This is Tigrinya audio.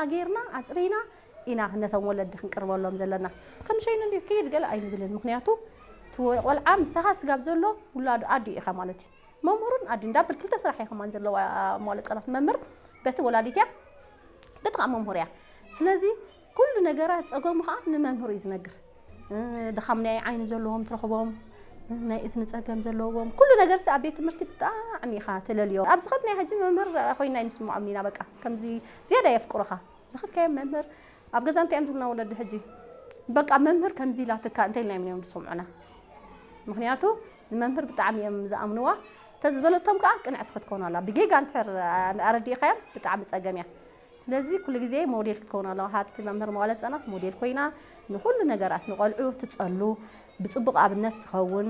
ኣጌርና ኣፅሪና ኢና ነቶም ወለዲ ክንቅርበሎም ዘለና። ከም ሸይኑ እንዲ ክይድ ገለ ኣይንብልን። ምክንያቱ እቲ ቆልዓ ምሳኻ ስጋብ ዘሎ ውላዱ ኣዲ ኢኻ ማለት እዩ። መምህሩን ኣዲ እንዳብል ክልተ ስራሕ እየ ከማን ዘለዋ። መዋለ ህፃናት መምህር በቲ ወላዲት እያ፣ በቲ ከዓ መምህር እያ። ስለዚ ኩሉ ነገራት ፀገሙ ከዓ ንመምህሩ እዩ ዝነግር። ድኻም ናይ ዓይኒ ዘለዎም ትረኽቦም፣ ናይ እዝኒ ፀገም ዘለዎም፣ ኩሉ ነገር ኣብ ቤት ትምህርቲ ብጣዕሚ ኢኻ ትለልዮ። ኣብዚ ኸት ናይ ሕጂ መምህር ኮይና ይንስምዖም ኢና። በቃ ከምዚ ዝያዳ የፍቅሩኻ። ዝኸትካዮም መምህር ኣብ ገዛ እንታይ እዮም ዝብሉና ወለዲ ሕጂ? በቃ መምህር ከምዚ ኢላትካ እንተ ኢልና እዮም ዝሰምዑና። ምክንያቱ ንመምህር ብጣዕሚ እዮም ዝኣምንዋ። ተዝበለቶም ከዓ ቅንዕቲ ክትከውን ኣላ። ብጌጋ እንድሕር ኣረዲእካዮም ብጣዕሚ ፀገም እያ። ስለዚ ኩሉ ግዜ ሞዴል ክትከውን ኣለዋ። ሃቲ መምህር መዋለ ህፃናት ሞዴል ኮይና ንኩሉ ነገራት ንቆልዑ ትፀሉ፣ ብፅቡቅ ኣብነት ትኸውን።